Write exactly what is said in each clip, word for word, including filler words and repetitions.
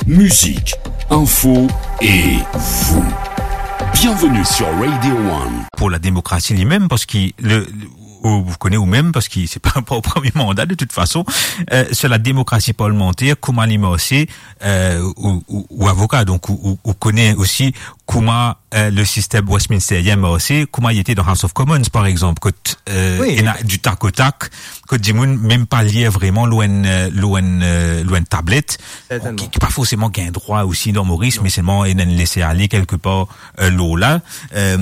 Musique, info et vous. Bienvenue sur Radio One. Pour la démocratie lui-même, parce que le, le- ou, ou connaissez ou même, parce que c'est pas, pas au premier mandat de toute façon, euh, sur la démocratie parlementaire, comment il marche, euh, ou, ou, ou avocat, donc ou, ou, ou connaît aussi comment, euh, le système Westminsterien marche, comment il était dans House of Commons, par exemple, quand, euh, Oui. il y a du tac au tac, kot dimoun mem pa lir vreman lor enn, euh, lor enn, euh, lor enn tablet, Certainement. ki, ki pa forseman gagn drwa osi dan Moris, Non. me selman ena enn lese ale kelke par, euh, lor la. Euh,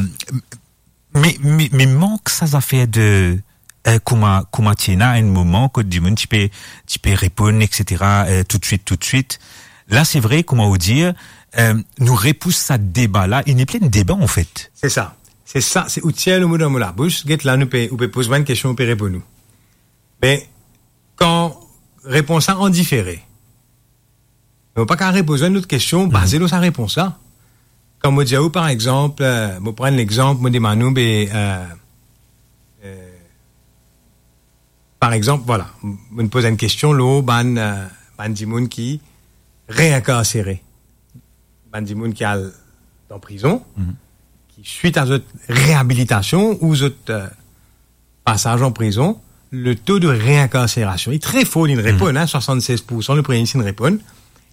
me, me, me mank sa zafer de, euh, kouma, kouma ti ena enn moman kot dimoun ti pe, ti pe reponn, et cetera, euh, toutswit, toutswit. La, se vre, kouma ou dir, euh, nou repous sa deba la, e nepli enn deba, an fet. Se sa. Se sa, se ou tir lemo dan mo labous. Get la, nou pe, ou pe poz mwa enn kestion, ou pe reponn ou. Me, kan repons la an difere, me ou pa kav repoz enn lot kestion, Mhm. baze lor sa repons la. Kan mo dir ou, par exanp, euh, mo pran enn lexanp, mo demann ou, be, euh, euh, par exanp, vwala, m-, mo poz enn kestion lor bann, euh, bann dimoun ki reinkarsere, bann dimoun ki al dan prizon, Mhm. ki swit a zot reabilitasion ou zot, euh, pasaz an prizon, le to de reinkarserasion li tre for, li reponn, Mhm. hein, swasann-sez poursan, le Premie Minis li reponn,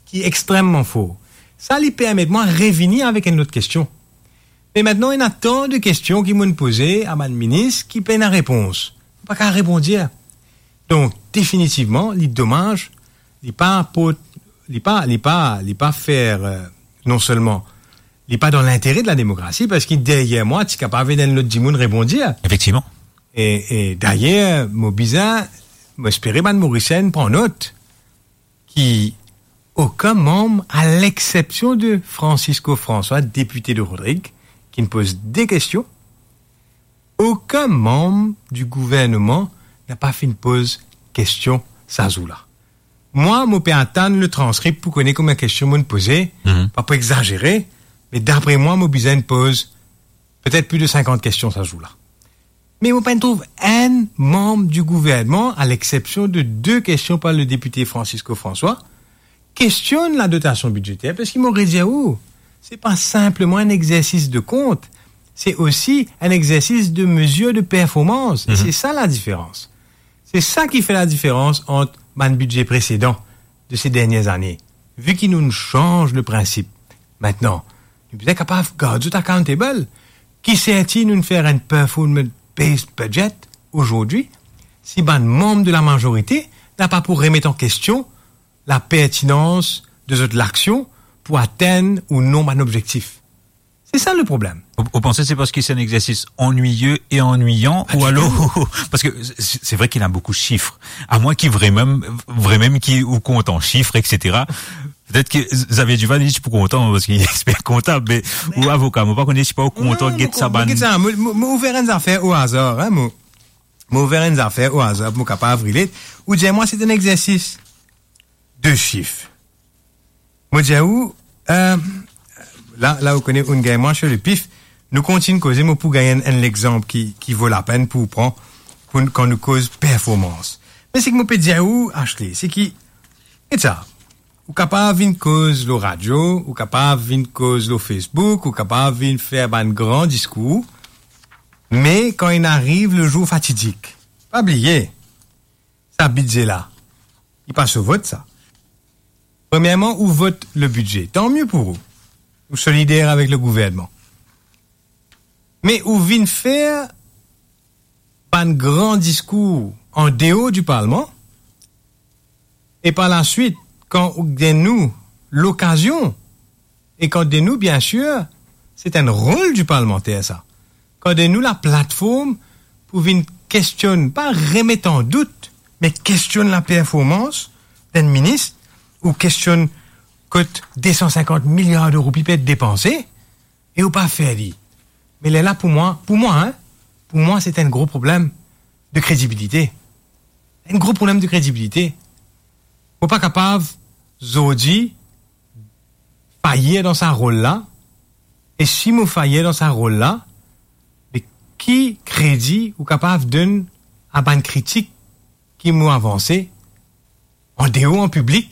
ki extrememan for. Sa li permet mwa revini avek enn lot kestion. Me aster, ena tan de kestion ki mo'nn poze a bann minis ki pena repons. Mo pa kav reponn dir. Donk, definitivman, li domaz, li pa port, li pa, li pa, li pa fer, euh, non selman, li pa dan lintere de la demokrasi, parski deryer mwa, ti kapav ena enn lot dimoun reponn dir. Efektivman. E, e dayer, mo bizin, mo espere bann Morisien pran not ki okenn manm, a lexsepsion de Francisco François, depite de Rodrigues, ki'nn poz de kestion, okenn manm di gouverneman napa finn poz kestion sa zour la. Mwa, mo pe atann le transkrip pou kone konbien kestion mo'nn poze, Mhm. pa pou exazere, me dapre mwa, mo bizin poz petet plis de sinkant kestion sa zour la. Me mo pa'nn trouv enn manm di gouvernman, a lexsepsion de de kestion par le depite Francisco François, kestionn ladotasion bidzeter, parski mo redir ou, se pa sinpleman enn exersis de kont, se osi enn exersis de mezir de performans. E Mhm. se sa ladiferans. Se sa ki fer ladiferans ant bann bidze presedan de se dernie zane, vi ki nou'nn sanz le prinsip. Aster, nou bizin kapav gard zot accountable. Ki serti nou'nn fer enn performance-based budget azordi, si bann manm de lamazorite napa pou remet an kestion lapertinans de zot laksion pou atenn ou non bann obzektif? Se sa le problem. Ou, ou panse se parski se enn exersis annuiye e annuiyan, Pa ou ditou. alor, parski se, se vre ki ena boukou sif. Amwin ki vremem, vremem ki ou kontan sif, et cetera. Petet ki Xavier Duval, li ti pou kontan, parski li exper kontab, me ou avoka, mo pa kone si pa ou kontan Non, get mo sa kontan bann get sa, mo, mo, mo ouver enn zafer o azar, hein, mo, mo ouver enn zafer o azar, mo kapav relate. Ou dir mwa, se enn exersis de sif. Mo dir ou, euh, la, la ou kone, ou'nn gagn mwa sir le pif, nou kontign koze, mo pou gagn enn, enn lexanp ki, ki vo lapenn pou pran, pou, kan nou koz performans. Me seki mo pe dir ou, Ashley, se ki, get sa, ou kapav vinn koz lor radio, ou kapav vinn koz lor Facebook, ou kapav vinn fer bann gran diskour, me kan inn ariv le zour fatidik, pa bliye, sa bidze la, li pa so vot sa. Premierman, ou vot le bidze, tanmie pou ou. Ou solider avek le gouvernman. Me ou vinn fer bann gran diskour an deor di parlman, e par laswit, kan ou donn nou lokazion, e kan donn nou, biensir, se enn rol di parlmanter sa, kan donn nou laplatform pou vinn kestionn, pa remet an dout, me kestionn laperformans d'enn minis, ou kestionn kot de san sinkant miliar de roupi pe et depanse, e ou pa fer li. Me lerla pou mwa, pou mwa, hein, pou mwa, se enn gro problem de kredibilite. Enn gro problem de kredibilite. Mo pa kapav, zordi, fayir dan sa rol la, e si mo fayir dan sa rol la, me ki kredi ou kapav donn a bann kritik ki mo avanse an deor, an piblik,